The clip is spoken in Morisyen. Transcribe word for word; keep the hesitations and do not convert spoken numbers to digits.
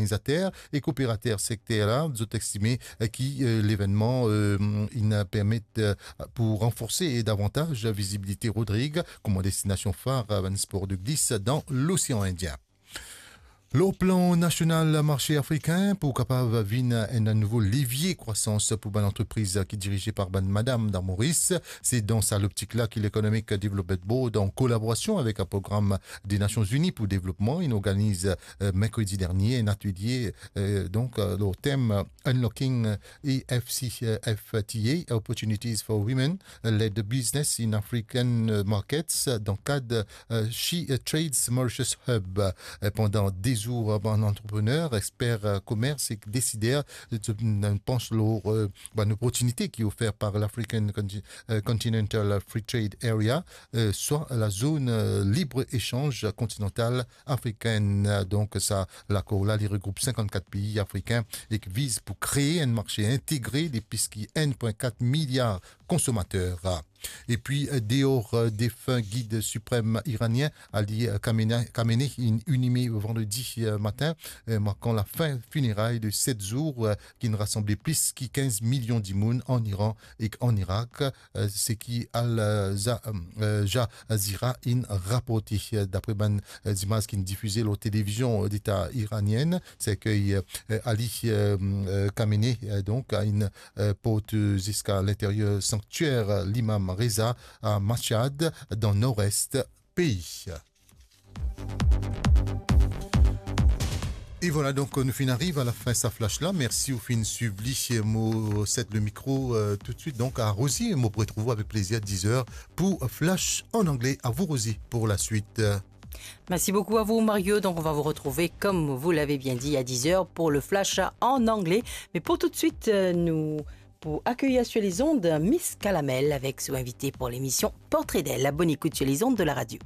Organizater e kooperater sekter la, zot estime, eh, ki, eh, levennman, eh, inn permet, eh, pou ranforse davantaz vizibilite Rodrig kouma destinasion far, eh, bann spor de glis dan Losean Indien. Lor plan nasional, marse afrikin pou kapav vinn enn nouvo levie krwasans pou bann antrepriz ki dirize par bann madam dan Moris. Se dan sa loptik la ki l'Economic Development Board, an kolaborasion avek program de Nasion Zini pou devlopman, inn organiz, eh, merkredi dernie enn atelie, eh, donk, eh, lor tem, eh, Unlocking E F C F T A, Opportunities for Women Led Business in African, eh, Markets, dan kad, eh, She, eh, Trades Mauritius Hub. Eh, pandan de zour, eh, bann antreprener, exper, eh, komers ek desider, eh, panse lor, eh, bann loportinite ki ofer par l'African Conti-, eh, Continental Free Trade Area, eh, swa lazone, eh, libre esanz kontinantal afrikenn. Donk sa lakor la, li regroup sinkannkat pei afrikin ek viz pou kree enn marse integre de plis ki enn pwin kat miliar konsomater. Epi, eh, deor, eh, defin gid siprem iranien Ali, eh, Khamenei, Khamenei inn inime vandredi, eh, matin, eh, markan lafin fineray de set zour, eh, ki inn rasanble plis ki kinz milion dimoun an Iran ek an Irak, eh, seki Al, eh, Za-, eh, Jazeera inn raporte. Eh, dapre bann, eh, zimaz ki inn difize lor televizion, eh, deta iranienn, serkey, eh, Ali, eh, eh, Khamenei, eh, donk, inn, eh, port ziska linteryer sanktier, eh, Limam Reza a Mashhad, dan nor-est pei. E vwala, donk, nou finn ariv a lafin sa flash la. Mersi ou finn swiv li. Mo set le mikro, eh, toutswit, donk, a Rosie. Mo pou retrouv ou avek plezir diz er pou Flash an angle. A vou, Rosie, pour la suite. Merci beaucoup à vous, Mario. Donc, on va vous retrouver, comme vous l'avez bien dit, à dix heures pour le flash en anglais. Mais pour tout de suite, euh, nous, pour accueillir sur les ondes Miss Kalamel avec son invité pour l'émission Portrait d'elle. Bonne écoute sur les ondes de la radio.